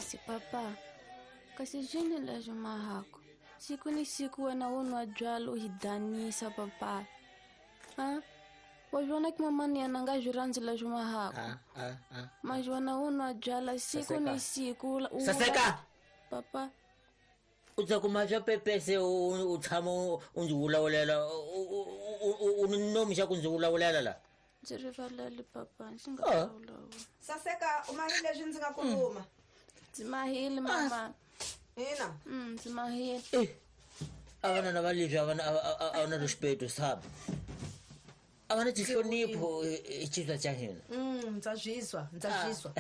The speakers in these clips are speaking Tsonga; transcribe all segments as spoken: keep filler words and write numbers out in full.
Kasi papa, kasi jini leswi mahako. Siku ni siku wena u nwa byalwa u hi danisa papa. Ha? Wa vona ku mamani yena nga swi rhandzi leswi mahako. Ah, ah, ah. Majona u nwa byalwa siku ni siku. Saseka. Papa. U ta kuma swa pepese u u tshama u ndzi vulavulela u ni nomi xa ku ndzi vulavulela la. Ndzi rivalele papa, ndzi nga vulavula. Saseka, u mahile leswi ndzi nga ku rhuma. Ndzi mahile mama. Ina. Mm, ndzi mahile. Eh. A vana na valivhi a vana a na respeto sabe. A vana tinhlonipho hi xivandla xa hina. Mm, ndza zwiswa, ndza zwiswa.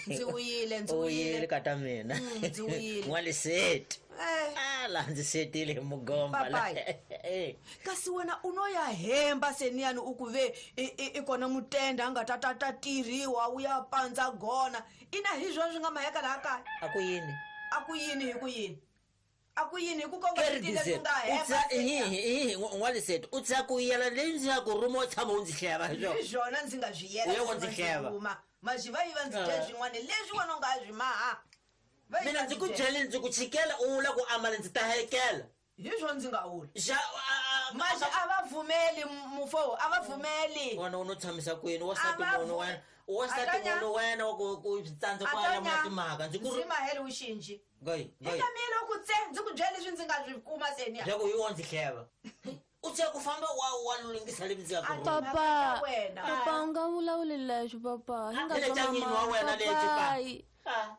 Ndzi wuyile, ndzi wuyile wuyile. Kata mina. Ndzi wuyile. N'waliseti. Eh. Ah, la ndzi setile hi mugomba la. Papai. Kasi wena u no ya hemba seniyani u ku ve i kona mutenda a nga ta ta ta tirhiwa u ya pandza gona. Ina hi swona swi nga maheka laha kaya. A ku yini? A ku yini hi ku yini? A ku yini hi ku kongomisa leswi nga hemba? Hi n'waliseti u tsaka ku yela leyi ndzi nga ku rhuma u tshama u ndzi hleva hi swona. Hi swona ndzi nga swi yela. U ya wa ndzi hleva. Majiva yi va ndzi dya swin'wana leswi wena u nga swi maha. Mina ndzi ku byele ndzi ku chikela u vula ku amala ndzi ta hekela. Hi swona ndzi nga vula. Xa Maji a va pfumeli mufo, a va pfumeli. Wena u no tshamisa kwini wasati munhu wena. Wasati munhu wena wa ku ku tsandza ku alamula timhaka ndzi ku ndzi mahele u xinji. Gai, gai. Eka mina ku tse ndzi ku byele leswi ndzi nga swi kuma seni. Loko yi wa ndzi hleva. U tsaka ku famba wa wa lungisa leswi ndzi nga ku rhuma. Papa, papa u nga vulavuli leswi papa. Hi nga zwa mama wa wena lexi pa. Ah.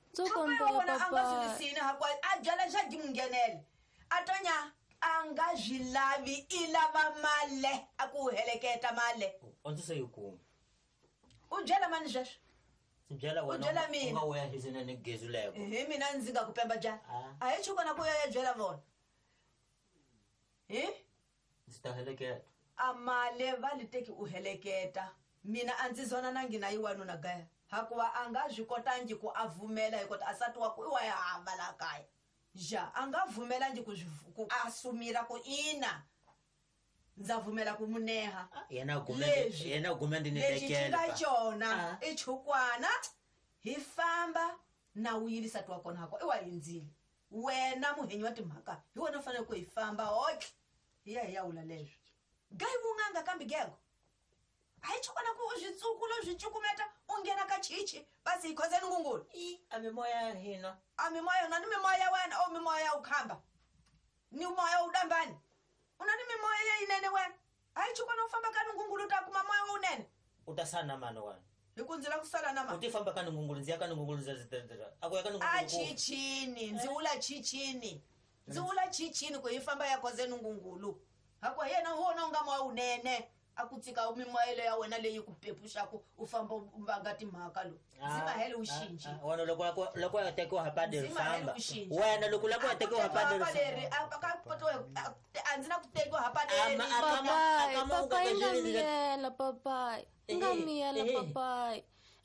Ndzo kombela a nga swi papa. lisini hakwa a byala xa gimungenele. A tonya a nga swi lavi i lava male a ku heleketa male. U ndzi se yi kuma. U byela mani sweswo? Ndzi byela wena. U byela mina. U nga wuya hisina ni gezu leko. Hi mina ndzi nga ku pemba byala. A hi chukona ku ya byela vona. Hi? Ndzi ta heleketa. A male va li teki u heleketa. Mina a ndzi zona na ngina yi wanuna gaya. Hakuva a nga swi kotangi ku a vumela hi kota a sati wa ku i wa ya hava laha kaya. Ja, a nga vumelangi ku ku a sumira ku ina. Ndza vumela ku muneha. Yena gume yena gume ndi ni Lexi xi tekela. nga xona i chukwana hi famba na wu yilisa twa kona hako i wa hindzile. Wena muhenyi wa timhaka hi wena u fanele ku hi famba hotlhe hi ya hi ya wula leswi. Gai vunganga kambe gego. A hi chukwana ku u swi tsukula u swi cukumeta u nghena ka chichi basi hi khozeni ngungulu. I a mimoya ya hina. A mimoya yona ni mimoya ya wena o mimoya ya u khamba. Ni moya u dambani. U na ni mimoya ya yinene wena. A hi chukwana u famba ka ngungulu u ta kuma moya wunene. U ta sala na mani wena? Hi ku ndzi lava ku sala na mani. U ti famba ka ngungulu ndzi ya ka ngungulu ndzi ndzi a ku ya ka ngungulu. A chichini ndzi wula chichini. Ndzi wula chichini ku hi famba ya khozeni ngungulu. Hakuva yena wona u nga moya wunene. A ku tsika mimoya ya wena leyi ku pepuxaku u famba u vanga timhaka lo. Ndzi mahele u xinji. Wena loko loko ya tekiwa ha paderi famba. Wena loko loko ya tekiwa ha paderi. Paderi a ka poto a ndzi na ku tekiwa ha paderi. Papa, papa i nga miyela papa. I nga miyela papa.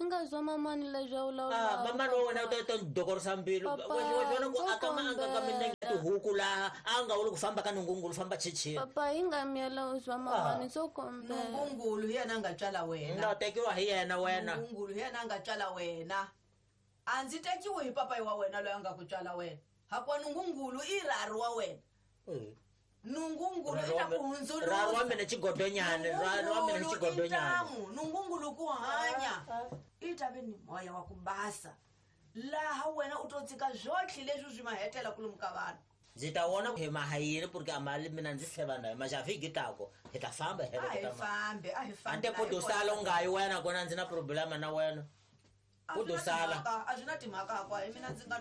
I nga zwa mamani leswi a vulavulaka. Ah, mamani wa wena u ta ta dokorisa mbilu. Wa vona ku aka ma anga ka minenge tihuku laha a nga wuli ku famba ka ngungulu famba chichini. Papa i nga miyela u zwa mamani ndzo kombela. Ngungulu hi yena a nga tswala wena. Nga tekiwa hi yena wena. Ngungulu hi yena a nga tswala wena. A ndzi tekiwi hi papayi wa wena loyi a nga ku tswala wena. Hakuva ngungulu i rari wa wena. Nungungulu i ta ku hundzuluxa. Rari wa mina xigodonyana, rari wa mina xigodonyana. Nungungulu ku hanya. I ta ve ni moya wa ku basa. Laha wena u to tsika zwotlhe leswi swi mahetela ku lomu ka vanhu. Ndzi ta vona hi mahayini porque a mali mina ndzi hleva na maxa vhiki tako hi ta famba hi A hi fambi, a hi fambi. Ante po do sala u nga yi wena kona ndzi na problema na wena. A U do sala. A swi na timhaka hakwa hi mina ndzi nga